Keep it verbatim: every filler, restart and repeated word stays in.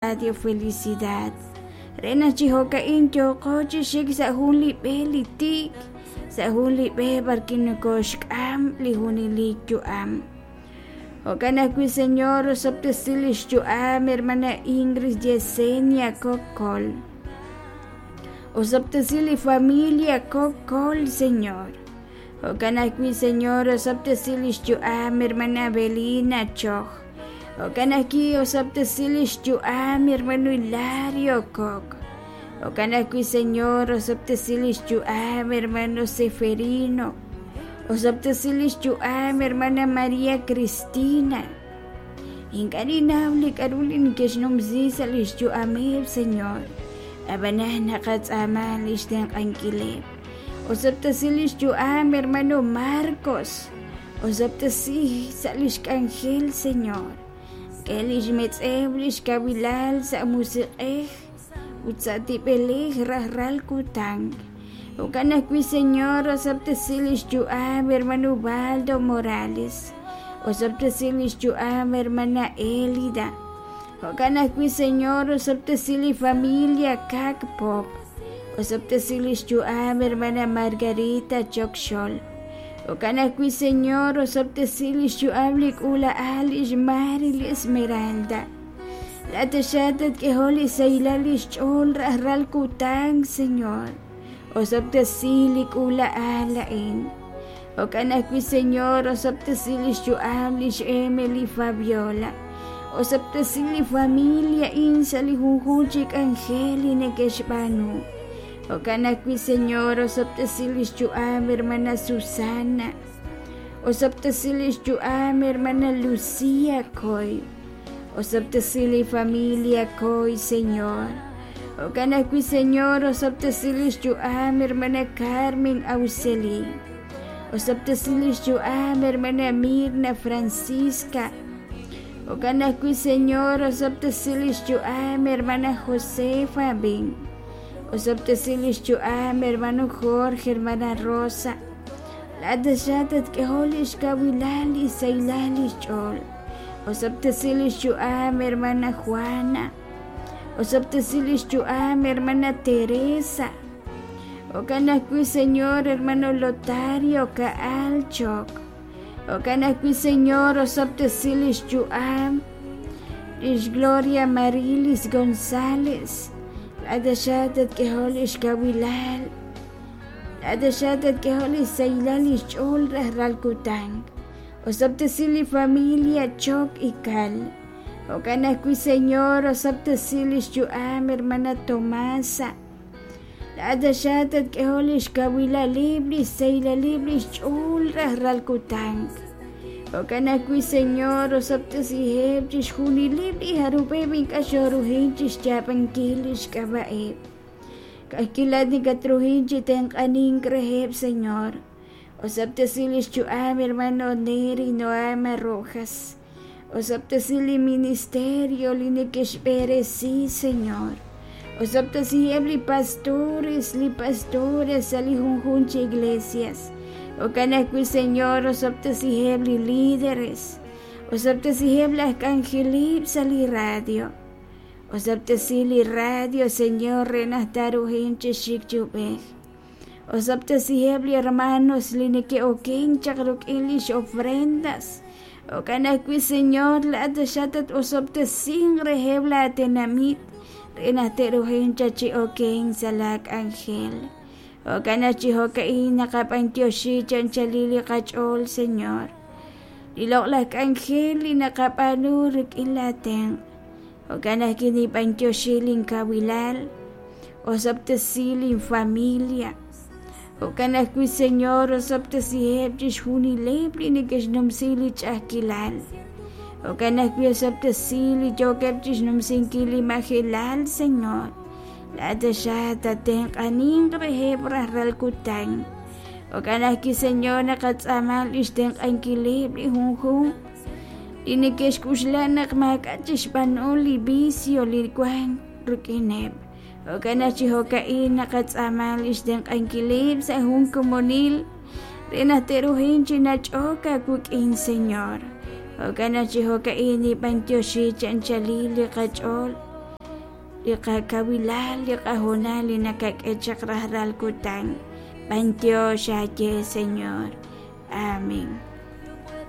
Radio Felicidad re naq chi jo'ka'in yooqo chi xik sa' jun li b'e li tiik, sa' jun li b'e b'arwi' nokoxk'am li junelik yu'am. Jo'kan ajwi', Señor, osob'tesi li xyu'am hermana Ingrid Yesenia Coccol. Osob'tesi li familia Coccol, Señor. Jo'kan ajwi', Señor, osob'tesi li xyu'am hermana Belina Choj. Jo'kan ajwi' osob'tesi li xyu'am hermano Hilario Coc. Jo'kan ajwi', Señor, osob'tesi li xyu'am hermano Seferino. Osob'tesi li xyu'am hermana María Cristina. Ink'a' ninnaw li k'a'ru li neke'xnumsi sa' li xyu'ameb', Señor. Ab'anan naqatz'aama li xtenq'ankileb'. Osob'tesi li xyu'am hermano Marcos. Osob'tesi sa' li xk'anjel, Señor. K'e li xmetz'ew li xkawilal sa' musiq'ej ut sa' tib'elej rajlal kutan. Jo'kan ajwi', Señor, osob'tesi li xyu'am hermano Ubaldo Morales. Osob'tesi li xyu'am hermana Elida. Jo'kan ajwi', Señor, osob'tesi li familia Kak Pop. Osob'tesi li xyu'am hermana Margarita Chokxol. Jo'kan ajwi', Señor, osob'tesi li xyu'am li k'uula'al lix Mari li Esmeralda. Laat tatk'ehol li sahilal li xch'ool rajlal kutan, Señor. Osob'tesi li k'uula'al a'in. Jo'kan ajwi', Señor, osob'tesi li xyu'am lix Emily Fabiola. Osob'tesi li familia in sa' li junjunq chi k'anjel li neke'xb'aanu. Jo'kan ajwi', Señor, osob'tesi li xyu'am hermana Susana. Osob'tesi li xyu'am hermana Lucía Coy. Osob'tesi li familia Coy, Señor. Jo'kan ajwi', Señor, osob'tesi li xyu'am hermana Carmen Auxeli. Osob'tesi li xyu'am hermana Mirna Francisca. Jo'kan ajwi', Señor, osob'tesi li xyu'am hermana Josefa Bin. Osob'tesi li xyu'am hermano Jorge, hermana Rosa. Laat tatk'ehol li xkawilal li sahilal li xch'ool. Osob'tesi li xyu'am hermana Juana. Osob'tesi li xyu'am hermana Teresa. Jo'kan ajwi', Señor, hermano Lotario Kaal Chok. Jo'kan ajwi', Señor, osob'tesi li xyu'am lix Gloria Marilis González. Laat tatk'ehol li xkawilal. Laat tatk'ehol li sahilal li xch'ool rajlal kutan. Osob'tesi li familia Chok Ikal. Jo'kan ajwi', Señor, osob'tesi li xyu'am hermana Tomasa. Laat tatk'ehol li xkawilalib' li sahilal li xch'ool rajlal kutan. Jo'kan ajwi', Señor, osob'tesiheb' chixjunileb' li jarub'eb' ink'a' xoruhin chixyaab'ankil li xk'ab'a'eb'. Ka'ajkilat nikatruhin chi tenq'anink reheb', Señor. Osob'tesi li xyu'am hermano Neri Noama Rojas. Osob'tesi li ministerio li neke'xb'eresi, Señor. Osob'tesiheb' li pastores, li pastores sa' li junjunq chi iglesias. Jo'kan ajwi', Señor, osob'tesiheb' li líderes. Osob'tesiheb' laj k'anjelib' sa' li radio. Osob'tesi li radio, Señor, re naq taruhin chi xik chi ub'ej. Osob'tesiheb' li hermanos li neke'oken chaq rik'in lix ofrendas. Jo'kan ajwi', Señor, laat xatat osob'tesin reheb' la tenamit re naq te'ruhin cha chi oken sa' la k'anjel. Jo'kan aj chi jo'ka'in naqab'antioxi chanchalil li qach'ool, Señor. Li loq'laj k'anjel li naqab'aanu rik'in la tenq'. Jo'kan ajwi' nib'antioxi linkawilal. Osob'tesi linfamilia. Jo'kan ajwi', Señor, osob'tesiheb' chixjunileb' li neke'xnumsi li ch'a'ajkilal. Jo'kan ajwi' osob'tesi li yookeb' chixnumsinkil li majelal, Señor. Laat tatenq'aninq reheb' rajlal kutan. Jo'kan ajwi', Señor, naqatz'aama li xtenq'ankileb' li junjunq li neke'xk'uxla naq maak'a' chixb'aanu li vicio li wan rik'ineb'. Jo'kan aj chi jo'ka'in naqatz'aama li xtenq'ankileb' sa' jun komonil re naq te'ruhin chi nach'ok aawik'in, Señor. Jo'kan aj chi jo'ka'in nib'antioxi chanchalil li qach'ool. Li qakawilal li qahoonal li nakak'e chaq rajlal kutan. B'antiox aawe, Señor. Amén.